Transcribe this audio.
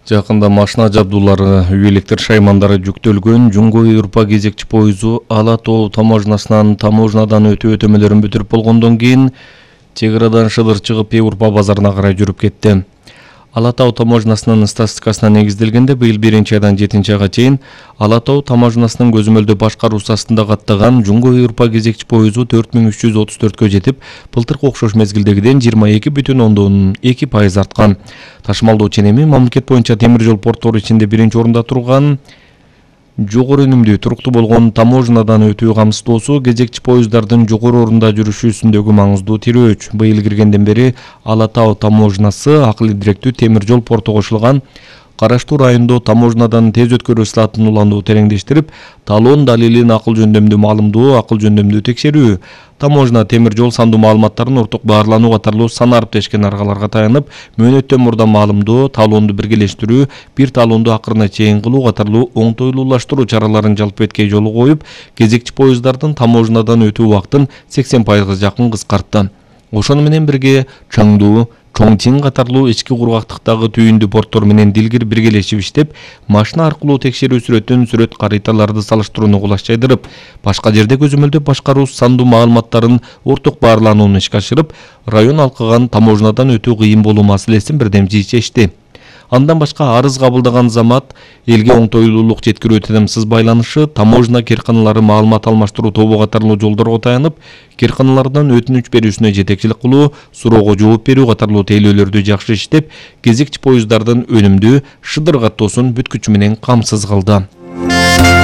Жакында машина жабдуулары, үй электр шаймандары жүктөлгөн Жумгой-Урпа кезекчи поезу Ала Тоо таможнадан өтүү өтөмөлөрүн бүтүрүп болгондон кийин чек арадан шыдыр чыгып Урпа базарына карай жүрүп кетти. Ала Тоо таможнасынын статистикасына негизделгенде быйыл 1-айдан 7-айга чейин Ала Тоо таможнасынын көзөмөлдөө башкаруусу астында каттаган Жумгой-Урпа кезекчи поезу 4334кө жетип, былтыркы окшош мезгилдегиден 22,2% арткан. Ташымалдоо ченеми мамлекет боюнча темир жол порттору ичинде 1-орунда турган. Жогору өнүмдүү туруктуу болгон таможнадан өтүү камсыздоосу кезекчи поездардын жогору орунда жүрүшүсүндөгү маңыздуу тирөөч. Быйыл киргенден бери Ала Тоо таможнасы акыл директүү темир жол порту кошулган Караштуу райондо таможнадан тез өткөрүү слатын улануу тереңдештирип, талон далилин акыл жөндөмдүү текшерүү, таможна темир жол сандуу маалыматтарын орток баарлануу катарлуу сан ариптешкен аргаларга таянып, мөөнөттөн мурда маалымдоо, талонду биргелештирүү, бир талонду акырына чейин кылуу катарлуу оңтойлуулаштыруу чараларын жалпы эткей жолу коюп, кезекчи поездардын таможнадан өтүү убактын 80%га жакын кыскартты. Ошону менен бирге Чаңдуу, Чоңчин катарлуу ички кургактыктагы түйүндүү порттор менен дилгир биргелешип иштеп, машина аркылуу текшерүү сүрөт кариталарды салыштырууну кулаш жайдырып, башка жерде көзөмөлдөп башкаруу сандуу маалыматтарын орток баарланууну ишке ашырып, район алкыган таможнадан өтүү кыйын болуу маселесин бирдемчи чечти. Андан башка арыз кабылдаган замат, элге оңтойлуулук жеткирүү тынымсыз байланышы, таможна керканалары маалымат алмаштыруу тобу катарлуу жолдорго таянып, керканалардан өтүнүч берүүсүнө жетекчилик кылуу, суроого жооп берүү катарлуу тейлөөлөрдү жакшы иштеп, кезекчи поездардын өнүмдүү шыдыр каттоосун бүткүчү менен камсыз кылды.